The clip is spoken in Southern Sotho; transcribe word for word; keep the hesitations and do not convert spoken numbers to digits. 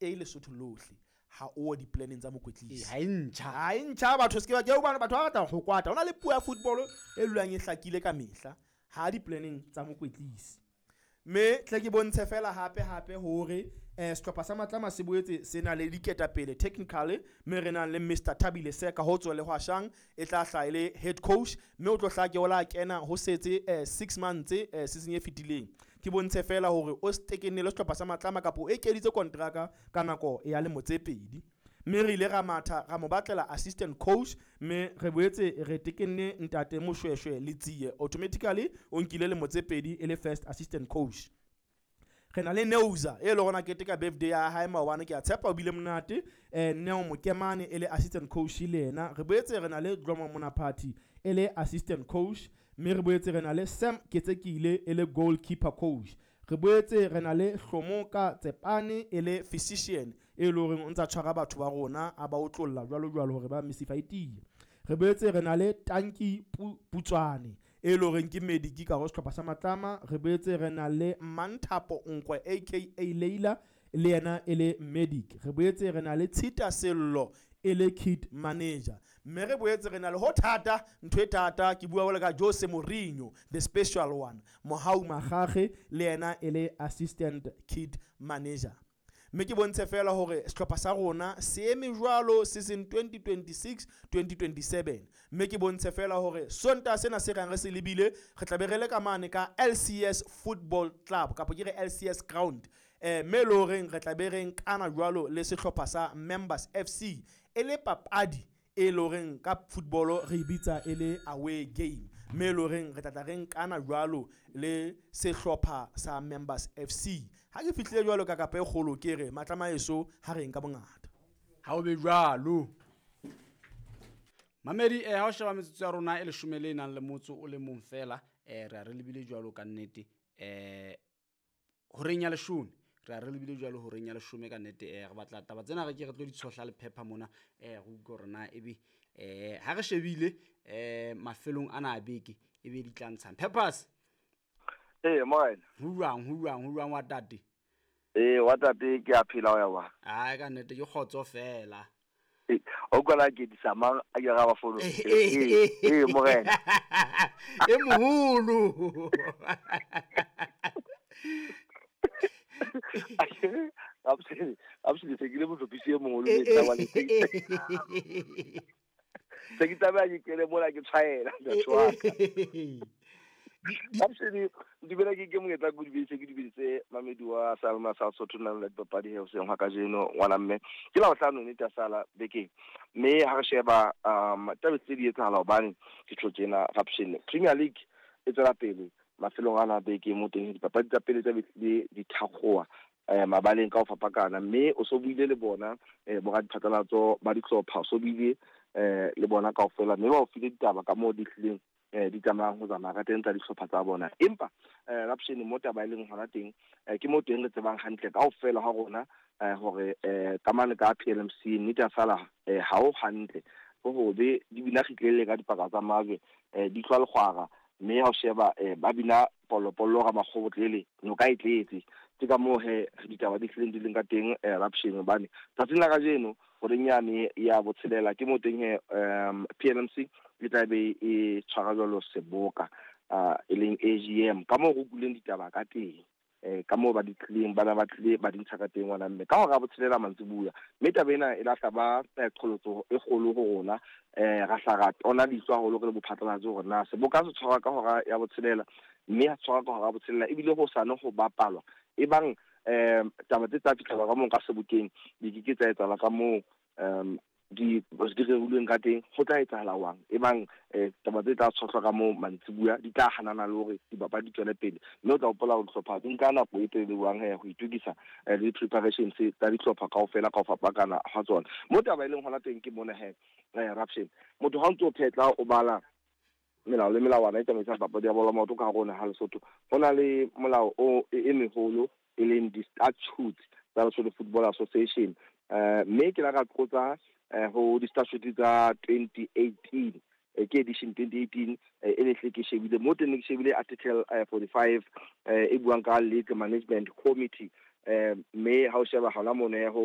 e Lesotho lohle ha o di-planning tsa mokwetlisi. Ha e ntjha. Ha e ntjha batho se ke ba ke hobane batho ba batla ho kwata. Ho na le puo ya football e dulang e hlakile ka mehla ha di-planning tsa mokwetlisi. Mme tle ke bontshe fela hape hape hore eh sehlopha sa Matlama se boetse se na le diketapele technically, mme re nang le Mister Thabile Seka ho tswa le Hwashang e tla hlaha e le head coach, mme o tlo hlaha ke ola kena ho setse eh, six months eh, season e fetileng. Ke bontshe fela hore o stekenne le sehlopha sa Matlama kapa o ekeditse kontraka ka nako ya lemo tse pedi. Mme re ile ra matha ra mo batlela assistant coach, mme re boetse re tekenne ntate Moshweshwe Letsie, automatically o nkile lemo tse pedi e le first assistant coach. Re na le Neuza e le gona keteka birthday ya hae maobane, ke a tshepa o bile monate. eh Neo Mokemane e le assistant coach le yena. Re boetse re na le Dlomo Monaphathi e le assistant coach, mme re boetse re na le Sam Ketsekile e le goalkeeper coach. Re boetse re na le Hlomoka Tsepane e le physician e le horeng o ntsa tshwara batho ba rona a ba otlolla jwalo jwalo hore ba mesifa e tiye. Re boetse re na le Tanki Putswane e le horeng ke medic ka ho sehlopha sa Matlama. Re boetse re na le Manthapo Nkwe aka Leila le yena e le medic. Re boetse re na le Tshita Sello e le kit manager. Mme re boetse re na le ho thata, ntho e thata ke bua jwalo ka Jose Mourinho the special one, Mohau Magage le yena e le assistant kit manager. Mme ke bontshe fela hore sehlopha sa rona se eme jwalo season twenty twenty-six twenty twenty-seven. Mme ke bontshe fela hore Sontaha sena se rang re se lebile, re tla be re le ka mane ka L C S Football Club kapa ke re L C S Ground. Eh, mme le horeng re tla be re nkana jwalo le sehlopha sa Members F C e le papadi e le horeng ka football re e bitsa e le away game. Mme le horeng re tla tla re nkana jwalo le sehlopha sa Members F C. Ha ke fihlile jwalo ka kapa e kgolo ke re Matlama eso ha re nka bongata. Ha o be jwalo. Mamedi, eh, ha o sheba metsotso ya rona e leshome le nang le motso o le mong fela, eh, re a re lebile jwalo ka nnete, eh, horeng ya leshome. Re a re lebile jwalo horeng ya leshome ka nnete, eh, re batla taba tsena re ke re tlo di tshohla le phepha mona, eh, re utlwe hore na ebe, eh, ha re shebile, eh, mafelong ana a beke, ebe di tla ntshang. Peppers. Eh, morena. Ho jwang, ho jwang, ho jwang wa tate? Eh, wa tate ke a phela ho ya wa. Ai, ka nnete ke kgotso fela. Eh, o kwala ke di samang a ke ra ba fono. Eh, Eh, eh, morena. E moholo. Absolutely, absolutely, ke le motlhophisi e moholo le tla wa le teng. Se ke tlameha ke kene mona ke tshwaela, motho wa ka. Absolutely, dumela ke ke monyetla ke dumedise, ke dumedise Mamedi wa Salma sa Sotho nang le dipapadi he hoseng hwa kajeno ngwana mme. Ke la bohlano nnete ya sala bekeng. Mme ha re sheba, um, taba tse di etsahala hobane ke tjho tjena Rapshin. Premier League e tswela pele mafelong ana a beke mo teng dipapadi tsa pele tsa di di thakgowa, eh, mabaleng ka ho fapakana, mme o so buile le bona, eh, bo radiphatlalatso ba dihlopha, o so buile, eh, le bona kaofela, mme ba o file ditaba ka moo di hlileng, eh, di tsamayang ho tsamaya ka teng tsa dihlopha tsa bona. Empa, eh, Rapshin, mo taba e leng hona teng, eh, ke mo teng re tsebang hantle kaofela ha rona, eh, hore, eh, kamano ka P L M C nnete ya sala, eh, ha o hantle. Ho hobe di bina kgitlele ka dipaka tsa majwe, eh, di tlwa lekgwara, mme ha o sheba, eh, ba bina polopollo ka makgobotlele, noka e tletse. Ke ka moo he ditaba di hlileng di leng ka teng, eh, Rapshin, hobane tsatsing la kajeno horeng yane ya botshelela ke mo teng he, um, P L M C e tla be e tshwara jwalo seboka, ah, e leng A G M, ka moo re utlwileng ditaba ka teng, eh, ka moo ba di tlileng, bana ba tlile ba di ntsha ka teng ngwana mme. Ka hora ya botshelela mantsibuya, mme taba ena e lahla ba, eh, qholotso e kgolo ho rona, eh, ra hla ra tona leihlo haholo re le bophatlalatsi hore na seboka se tshwarwa ka hora ya botshelela, mme ha tshwarwa ka hora ya botshelela ebile ho sane ho bapalwa. Ebang, eh, taba tse tla fihlela ka moo ka sebokeng di ke ke tsa etsahala ka moo, um, di, di rerilweng ka teng, ho tla etsahala jwang? Ebang, eh, taba tse tla tshohlwa ka moo mantsibuya di tla hanana le hore dipapadi di tswele pele. Mme o tla hopola hore dihlopha di nka nako e telele jwang he ho itokisa, eh, le di-preparations tsa dihlopha kaofela ka ho fapakana ha tsona. Mo taba e leng hona teng ke mona he, eh, Rapshin, motho ha o ntso o phetla o bala melao le melawana e tsamaisang papadi ya bolo ya maoto ka hare ho naha Lesotho, ho na le molao o e, e meholo e leng di-statutes tsa Lesotho Football Association. Eh, mme ke la ka qotsa, eh, ho di-statutes tsa twenty eighteen, eh, ke edition twenty eighteen, eh, e ne hle ke shebile mo teng, ne ke shebile article, eh, forty-five, eh, e buang ka League Management Committee. Eh, mme ha o sheba hona mono ya ho